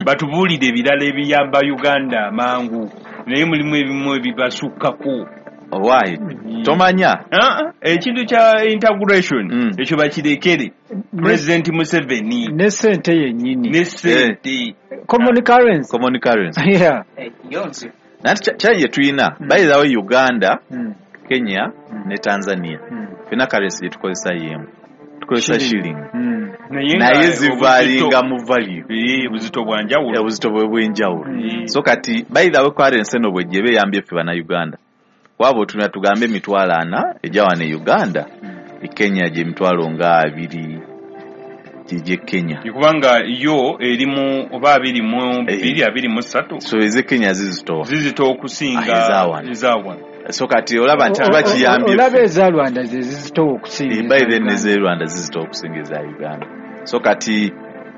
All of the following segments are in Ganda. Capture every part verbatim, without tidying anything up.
Batubuulire ebirala ebiyamba Uganda amangu, naye mulimu ebimu ebibasukkako. Owaayi, tomanya. Ah, ekintu kya integration, Mm. ekyo bakirekere President Museveni. Ne sente yennyini. Ne sente. Common currency. Common currency. Yeah. Eh, yo nzi. Nanti kyali gye tulina, by the way, Uganda, Mm. Kenya ne Tanzania, Mm. fena currency gye tukozesa yemu, tukozesa shilling. Mm. Naye nga Naye zivalinga obuzito- mu value. Eh, obuzito bwa njawulo. Obuzito bwe bw'enjawulo. Mm. So kati, by the way, currency eno bwejja eyambye ffe Bannayuganda. Waaba otunula, tugambe emitwalo ana ejja wano e Uganda, e Kenya gye mitwalo nga abiri gye Kenya. Kubanga yo erimu oba abiri mu bbiri, abiri mu ssatu. So ez'e Kenya zizitowa. Zizitowa okusinga Ah, ezawano. Ezawano. So kati olaba nti O- kiba o- kiyambye olaba ffe. eza Rwanda ze zizitowa okusinga Eh, eza by then Uganda. Ez'e Rwanda zizitowa okusinga eza Uganda. So kati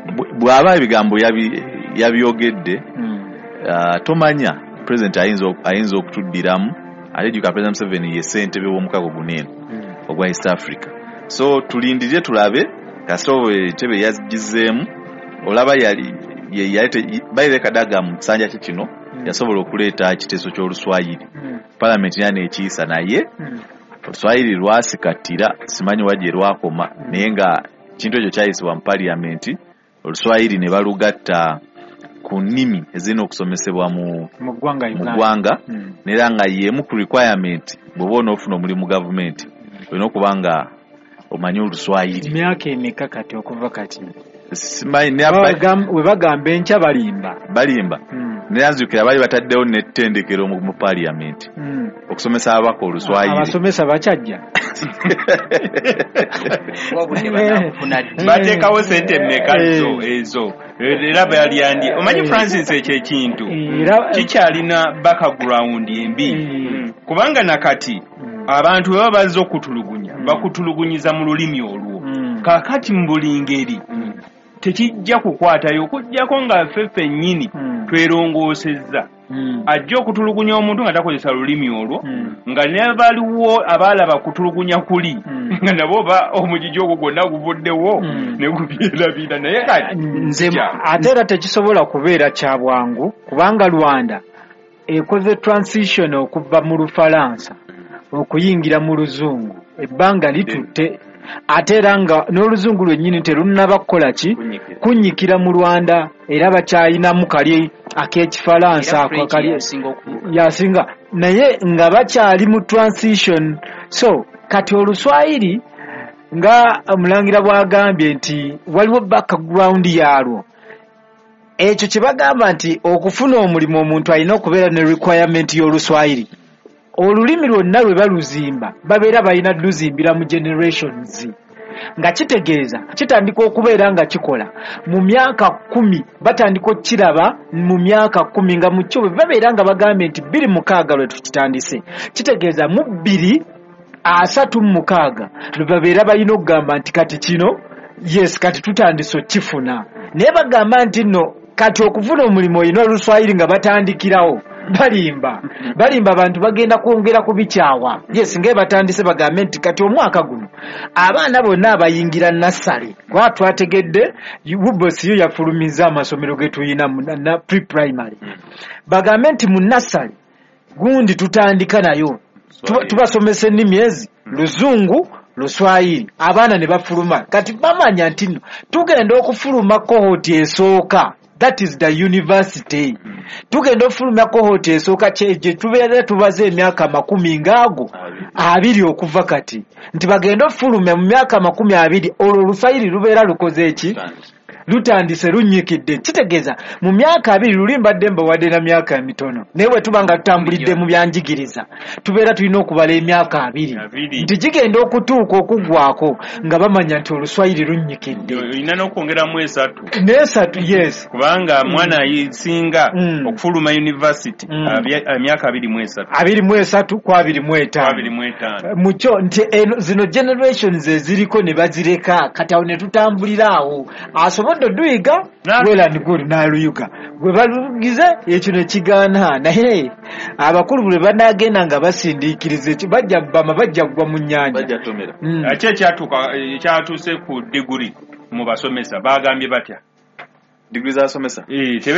bw- bw'aba ebigambo yabi- yabyogedde, Mm. ah, tomanya, president ayinza ok- ayinza okutuddiramu. Ate jjuka, President Museveni ye ssentebe w'omukago guno eno Mm. ogwa East Africa. So tulindirire tulabe. Kasita oba entebe yagizeemu, olaba yali ye- yali te- baire Kadaga mu kisanja kye kino Mm. yasobola okuleeta ekiteeso ky'Oluswayiri, Mm. palamenti era neekiyisa, naye Mm. Oluswayiri lwasikattira, simanyi wa gye lwakoma. Naye nga kintu ekyo kyayisibwa mu paliyamenti, Oluswayiri ne balugatta ku nnimi ezirina okusomesebwa mu mu ggwanga mu Uganda. ggwanga. Mm. Neera nga y'emu ku requirement, bw'oba onoofuna omulimu mu gavumenti, olina okuba nga omanyi Oluswayiri. Myaka emeka kati okuva kati? Simanyi naye aba- Bagam- we bagamba enkya, balimba. Balimba. Mm. Naye nzijukira baali bataddewo n'ettendekero mu mu paliyamenti Mm. okusomesa ababaka Oluswayiri. Abasomesa bakyajja. Obudde banaabufuna ddi? Bateekawo sente mmeka Eh. zo ezo? Era balyandi omanyi, Eh. Francis, ekyo ekintu Era kikyalina background embi, Mm. kubanga nakati Mm. abantu bwe baba bazze okutulugunya, Mm. bakutulugunyiza mu lulimi olwo. Mm. Kaakati mu buli ngeri Mm. tekijja kukwatayo okugjako nga ffe ffennyini Mm. twerongoosezza. Mm. Ajja okutulugunya omuntu nga takozesa lulimi olwo, Mm. nga ne baliwo abaalaba kutulugunya kuli, Mm. nga nabo ba omugigi ogwo gwonna guvuddewo Mm. ne gubyerabira. Naye kati Nze kya- Ate era tekisobola kubeera kya bwangu, kubanga Rwanda ekoze transition okuva mu Lufalansa okuyingira mu Luzungu, ebbanga litutte. Ate era nga n'Oluzungu lwennyini terunnaba kukola ki, kunnyikira mu Rwanda, era bakyayinamu kali ak'Ekifalansa. Era Ako French kali yasinga oku- yasinga, naye nga bakyali mu transition. So kati Oluswayiri, nga Omulangira bw'agambye nti waliwo background yaalwo, ekyo kye bagamba nti okufuna omulimu omuntu alina okubeera ne requirement y'Oluswayiri. Olulimi lwonna lwe baluzimba, babeera balina luzimbira mu generations, nga kitegeeza kitandika okubeera nga kikola mu myaka kkumi, batandika okukiraba mu myaka kkumi, nga mu kyo bwe babeera nga bagambye nti bbiri mukaaga lwe tukitandise, kitegeeza mu bbiri asatu mu mukaaga lwe babeera balina okugamba nti kati kino, yes, kati tutandise okukifuna. Naye bagamba nti nno kati okufuna omulimu olina Oluswayiri, nga batandikirawo, balimba, balimba. Abantu bagenda kwongera kubikyawa. Yes, ngae batandise bagambe nti kati omwaka guno abaana bonna abayingira nursery, kuba twategedde U B O S yo yafulumiza amasomero ge tuyina mu na pre-primary, bagambe nti mu nursery gundi tutandika nayo. Tuba- tubasomesa ennimi ezi, Luzungu, Luswayiri, abaana ne bafuluma. Kati bamanya nti nno tugenda okufuluma cohort esooka, that is the university, tugenda okufulumya cohort esooka kye gye tubeera tubaze emyaka makumi ngaago abiri okuva kati, nti bagenda okufulumya mu myaka makumi abiri, olwo Oluswayiri lubeera lukoze eki, lutandise, lunnyikidde. Kitegeeza mu myaka abiri, luli mbadde mbawadde na myaka emitono, naye bwe tuba nga tutambulidde mu byanjigiriza, tubeera tulina okubala emyaka abiri Abiri. nti gigenda okutuuka okuggwako nga bamanya nti Oluswayiri lunnyikidde. Olina n'okwongeramu esatu. N'esatu, yes. Kubanga mwana asinga Mm. okufuluma university Mm. abya- emyaka abiri mu esatu. Abiri mu esatu ku abiri mu etaano. Abiri mu etaano. Mukyo nti eno zino generations eziriko ne bazireka, kati awo ne tutambulira awo, asobodde oduyiga Na- well and good, n'aluyuga gwe balugize ekyo ne kigaana. Naye abakulu bwe banagenda nga basindiikiriza ekyo, bajja bama, bajja kugwa mu nnyanja. Bajja tomera. Mm. Ki ekyatuuka ekyatuuse ku diguri mu basomesa? Bagambye batya? Diguri z'abasomesa? Eh,